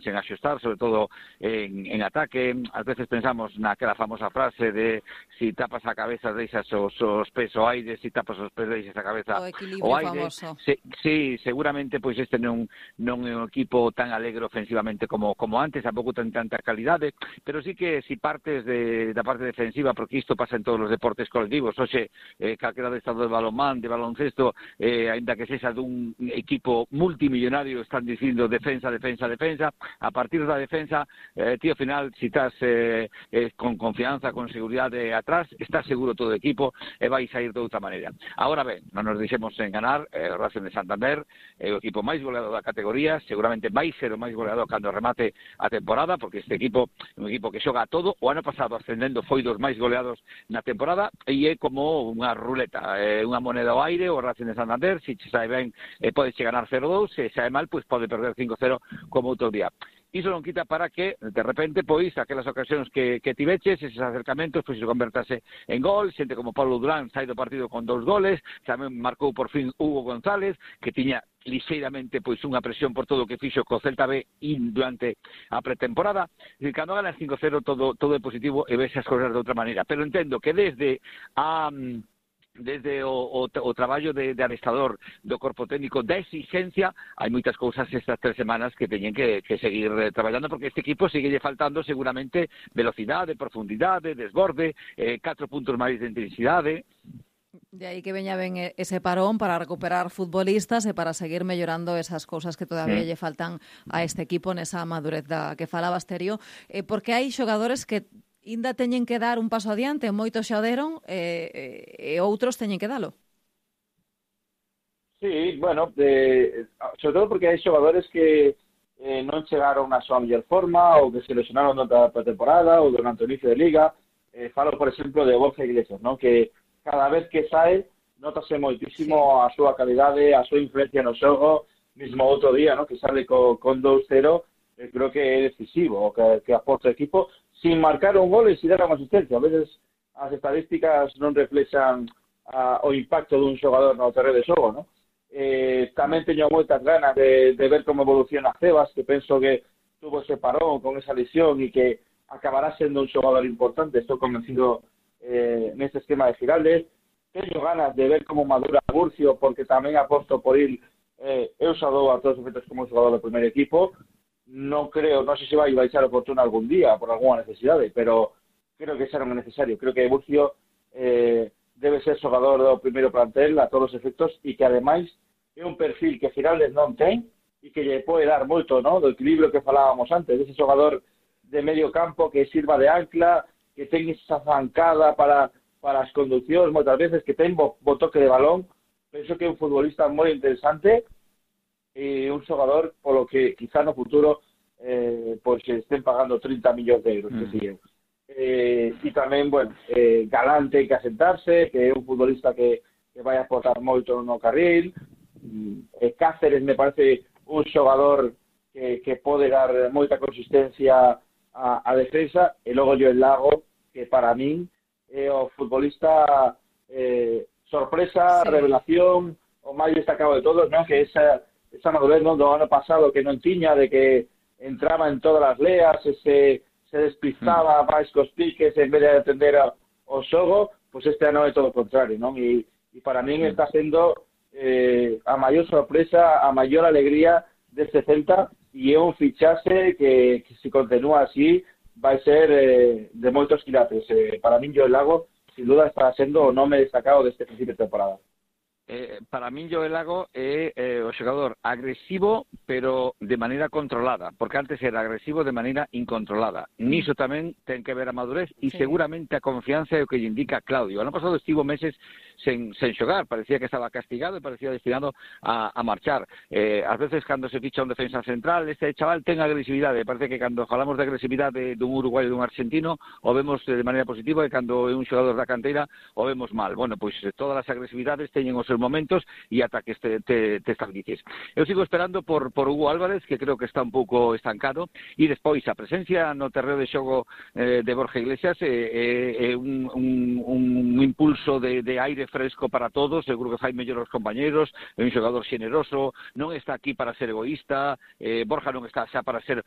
sen axustar, sobre todo en ataque. Ás veces pensamos naquela famosa frase de si tapas a cabeza deixas os pés ao aire, si tapas os pés deixas a cabeza o equilibrio ao aire. famoso. Sí, seguramente pois este non é un equipo tan alegre ofensivamente como antes, tampouco ten tanta calidade, pero sí que si partes da parte defensiva, porque isto pasa en todos os deportes colectivos, hoxe calquera de estado de balonmán, de baloncesto, aínda que sexa dun equipo multimillonario, están dicindo defensa, a partir da defensa, tío, ao final, si estás con confianza, con seguridade atrás, estás seguro todo o equipo e vais a ir de outra maneira. Agora ben, non nos deixemos enganar, o Racing de Santander é o equipo máis goleado da categoría, seguramente vai ser o máis goleado cando remate a temporada, porque este equipo é un equipo que xoga a todo. O ano pasado ascendendo foi dos máis goleados na temporada e é como unha ruleta, unha moneda ao aire, o Racing de Santander, se che sae ben pode che ganar 0-2, se sae mal, pois pode perder 5-0 como outro día. Iso non quita para que, de repente, pois, aquelas ocasións que tiveches, eses acercamentos, pois, se convertase en gol. Xente como Pablo Durán sai do partido con 2 goles, tamén marcou por fin Hugo González, que tiña lixeiramente pois unha presión por todo o que fixo co Celta B durante a pretemporada. E cando ganas 5-0 todo é positivo e ves as cousas de outra maneira. Pero entendo que desde o traballo de adestrador do corpo técnico da exigencia, hai moitas cousas estas 3 semanas que teñen que seguir traballando, porque este equipo sigue faltando seguramente velocidade, profundidade, desborde, 4 puntos máis de intensidade. De aí que veña ben ese parón para recuperar futbolistas e para seguir mellorando esas cousas que todavía lle faltan a este equipo nesa madurez da que falabas, Terio, porque hai xogadores que ainda teñen que dar un paso adiante, moitos xa o deron e outros teñen que dalo. Sí, bueno, sobre todo porque hai xogadores que non chegaron a súa mellor forma ou que se lesionaron noutra temporada ou durante o inicio de Liga. Falo, por exemplo, de Borja Iglesias, ¿no? Que cada vez que sae notase moitísimo a súa calidade, a súa influencia no xogo. Mismo outro día, ¿no? Que sale con 2-0, creo que é decisivo que aporta o equipo sin marcar un gol e sin dar unha asistencia. A veces as estadísticas non reflexan o impacto dun xogador no terreno de xogo, ¿no? Tamén teño moitas ganas de ver como evoluciona Cebas, que penso que tuvo ese parón con esa lesión e que acabará sendo un xogador importante. Estou convencido neste esquema de Giraldes. Teño ganas de ver como madura Murcio, porque tamén aposto por ir eu xa dou a todos os efectos como un xogador do primer equipo. Non sei se vai baixar o Fortuna algún día por algunha necesidade, pero creo que xa non é necesario. Creo que Murcio debe ser xogador do primeiro plantel a todos os efectos e que ademais é un perfil que Giraldes non ten e que lle pode dar moito, ¿no? Do equilibrio que falábamos antes, ese xogador de medio campo que sirva de ancla, que ten esa zancada para as conduccións moitas veces, que ten bo toque de balón. Penso que é un futbolista moi interesante e un xogador polo que quizá no futuro pois estén pagando 30 millóns de euros, que siguen. E tamén, bueno, Galante que asentarse, que é un futbolista que vai aportar moito no carril. Cáceres me parece un xogador que pode dar moita consistencia a defensa, e logo Joel Lago, que para min é o futbolista sorpresa, revelación, o máis destacado de todos, ¿no? Que esa madurez, ¿no? Do ano pasado que non tiña, de que entraba en todas as leas, se despistaba máis cos piques en vez de atender o xogo, pois este ano é todo o contrario, non? E para min está sendo a maior sorpresa, a maior alegría deste Celta, e é un fichaxe que se continúa así vai ser de moitos quilates. Para min Joel Lago sin duda está sendo o nome destacado deste principio de temporada. Para min Joel Lago é o xogador agresivo, pero de maneira controlada, porque antes era agresivo de maneira incontrolada. Niso tamén ten que ver a madurez e seguramente a confianza é o que lle indica Claudio. Ano pasado estivo meses sen xogar, parecía que estaba castigado e parecía destinado a marchar. Ás veces cando se ficha un defensa central, este chaval ten agresividade. Parece que cando falamos de agresividade dun uruguaio e dun argentino o vemos de maneira positiva, e cando é un xogador da canteira o vemos mal. Bueno, pois todas as agresividades teñen os seus momentos e ata que te estabilices. Eu sigo esperando por Hugo Álvarez, que creo que está un pouco estancado, e despois a presencia no terreo de xogo de Borja Iglesias é un impulso de aire aire fresco para todos, seguro que fai mellor aos compañeros, é un xogador xeneroso, non está aquí para ser egoísta, Borja non está xa para ser o